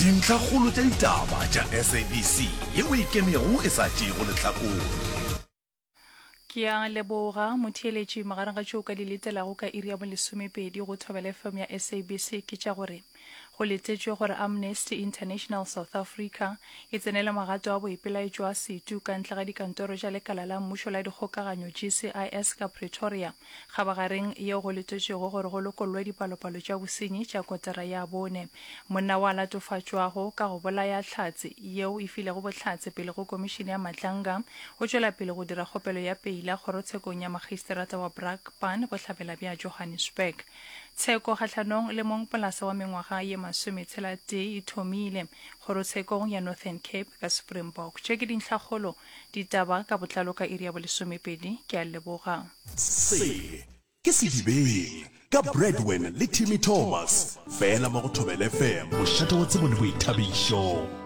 Dintlhakgolo tša ditaba tša SABC yeo e ikemego e sa tšeego lehlakore. Ke a leboga motheeletši. Magareng ga tšeo o ka di letelago ka iri ya bolesomepedi go Thobela FM ya SABC ke tša gore go letetšwe gore Amnesty International South Africa e tsenele magato a boipelaetšo a setu ka ntle ga dikantoro tša lekala la mmušo la dikgokaganyo GCIS ka Pretoria Kgabagareng yeo go letetšwego gore go lokollwe dipalopalo tša bosenyi tša kotara ya bone. Monna wa latofatšwago ka go bolaya Hlatse yeo e filego bohlatse pele go Komišene ya Matlanga o tšwela pele go dira kgopelo ya peila kgorotshekong ya Magistrata wa Brakpan bohlabela bja Johannesburg. Tsheko kgahlanong le mongpolasa wa mengwaga ye masometshela-tee e thomile kgorotshekong ya Northern Cape ka Springbok. Tše ke dintlhakgolo Ditaba ka botlalo ka iri ya bolesomepedi. Ke a leboga. Se ke Sedibeng ka Bradwin le Timmy Thomas, fela mo go Thobela FM, mošate wa tsebo le boithabišo.